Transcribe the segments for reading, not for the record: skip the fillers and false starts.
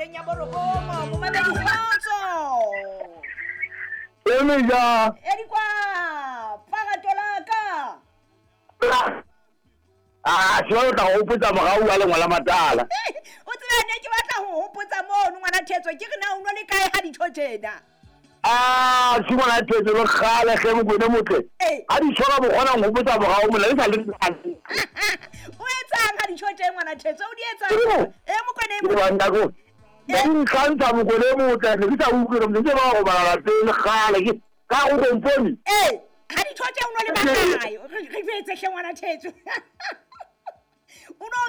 horeng ya borobong. Momamedi kgotso. Eme ja. Edi kwa pagato la ka. Ah, se o tla go hopotsa morao wa lengwa la matala. O tsebe ne ke batla ho hopotsa mono ngwana Thetso ke re na o no le kae ha ditho tjena. Ah, se ngwana Thetso le kgale ge mokwene motle. Ha di tshwara bokgona ho hopotsa morao mola le sa le. O etsang ha ditho tje ngwana Thetso o di etsang? E mokwene mo. Ke ba ko. Ke ntlantsa mokwene motle ne ke sa utlwe re ntse ba go bala pele kgale ke ka go komponi. Eh, ha ditho tje o no le ba kae? Re jwetse hle ngwana Thetso.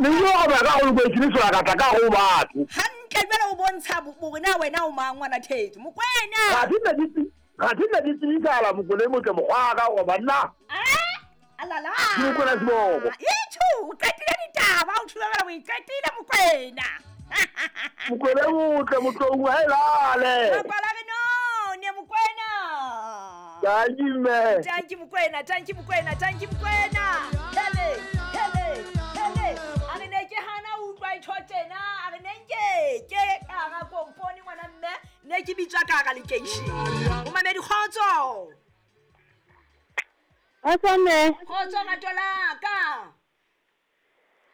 Ne ke go ba ka go le ke ka tla ka go batho. Hantle jwale o bontsha hore na wena o mang ngwana Thetso. Mokwena. Ga di nna di tsitsala mokwene motle mokgwa ka go banna. Ah, alala. Mokwena seboko. Ithu, o qetile ditaba o thubela o iqetile mokwena. Mokwena motle motlong ha elale. Makwala re no, ne mokwena. Tanki mme. Tanki mokwena, tanki mokwena, tanki mokwena. Hele, hele, hele. A re ne ke hana utlwa itho tjena, a re ne nke ke ka ga komponi ngwana mme, ne ke bitswa ka ga lekeishene. O mamedi kgotso. Kgotso mme. Kgotso rato la ka.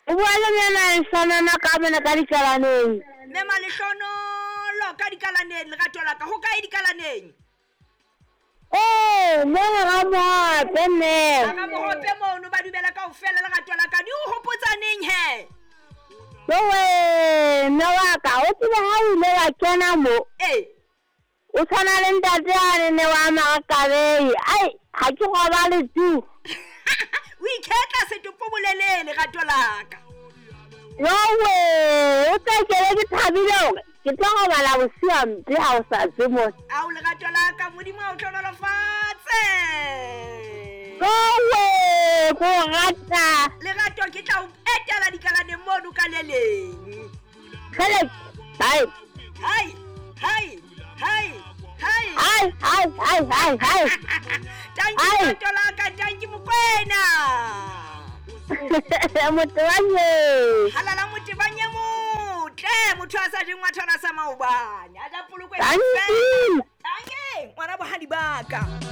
O bua le mme Malehlohonolo ka mona ka dikalaneng. Mme Malehlohonolo ka dikalaneng lerato la ka. Ho kae dikalaneng? Eh, mona ga mohope mme. Ga mohope mono ba dumela kaofela lerato la ka. Di o hopotsa neng he? Yowe, mme wa ka, o tsebe ha o ile wa kena mo. Eh. O tshwana le ntate ane ne wa Makabei. Ai, ha ke robale tu. O ikhetla setopo bolelele lerato la ka. Yowe, o tla kele ke thabile hore ke tlo robala bosiu hampe ha o sa tswe mo. Ao lerato la ka, Modimo a o hlohonolofatse. Yowe, ko rata. Lerato ke tla o etela dikalaneng mono ka le leng. Kgele, hai. Hai, hai, hai, hai. Hai, hai, hai, hai, hai. Tanki lerato la ka, tanki mokwena. Motebanye. Halala motebanye motle, motho a sa jeng wa thona sa maobane. A ja polokwe. Tanki. Tanki, ngwana bohadi ba ka.